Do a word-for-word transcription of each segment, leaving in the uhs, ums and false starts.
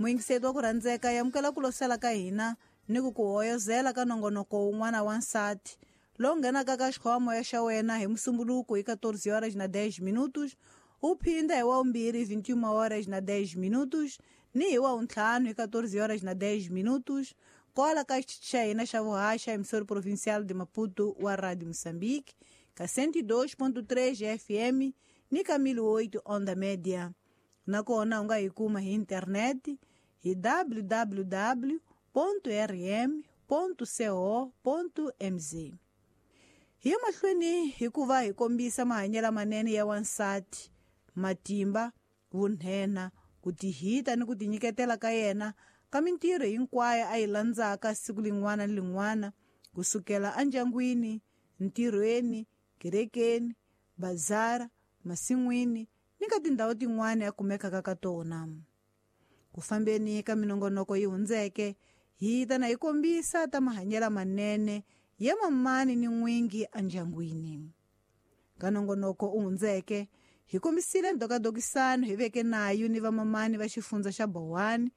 Muyingiseti wa ku rhandzeka yamukela ku losela ka hina ni ku ku hoyozela ka nongonoko wun'wana wa nsati lowu nghenaka ka xikhoma xa wena hi Musumbuluko hi quatorze horas na dez minutos, u phinda hi wa vumbirhi vinte e uma horas na dez minutos ni hi wa vuntlhanu hi quatorze horas na dez minutos kwala ka xitichi xa hina xa vuhaxa emissora provincial de Maputo wa Radio Moçambique ka cento e dois ponto três F M ni ka mil e oito onda média. Nakona u nga hi kuma hi internet hi w w w ponto r m ponto co ponto m z. Hi ya mahlweni hikuva hi kombisa mahanyelo manene ya wansati, matimba, vunhena, ku tihita ni ku tinyiketela ka yena ka mintirho hinkwayo a yi landzaka siku lin'wana ni lin'wana, kusukela endyangwini, ntirhweni, kerekeni, bazara, masin'wini ni ka tindhawu tin'wana a kumekaka ka tona. Ku fambeni ka minongonoko yi hundzeke, hi ta na hi kombisa ta mahanyelo manene ya mamani ni n'wingi endyangwini. Ka nongonoko u hundzeke, hi kombisile ndokadokisano hi veke nayo ni vamamani va xifundza xa Bowani,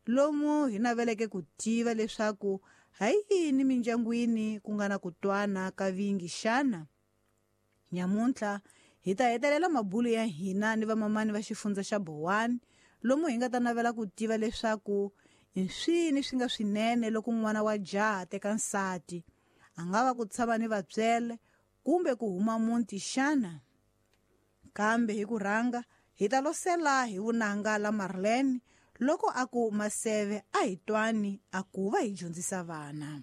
lomu hi naveleke ku tiva leswaku ha yini mindyangwini ku nga na ku twana ka vingi xana. Nyamuntlha hi ta hetelela mabulo ya hina ni vamamani va xifundza xa Bowani, lomu hi nga ta navela ku tiva leswaku i swini swi nga swinene loko n'wana wa jaha teka nsati, a nga va ku tshama ni vatswele kumbe ku huma muti xana. Kambe hi ku rhanga hi ta losela hi vunanga la Marlene loko a ku maseve a hi twani a ku va hi dyondzisa vana.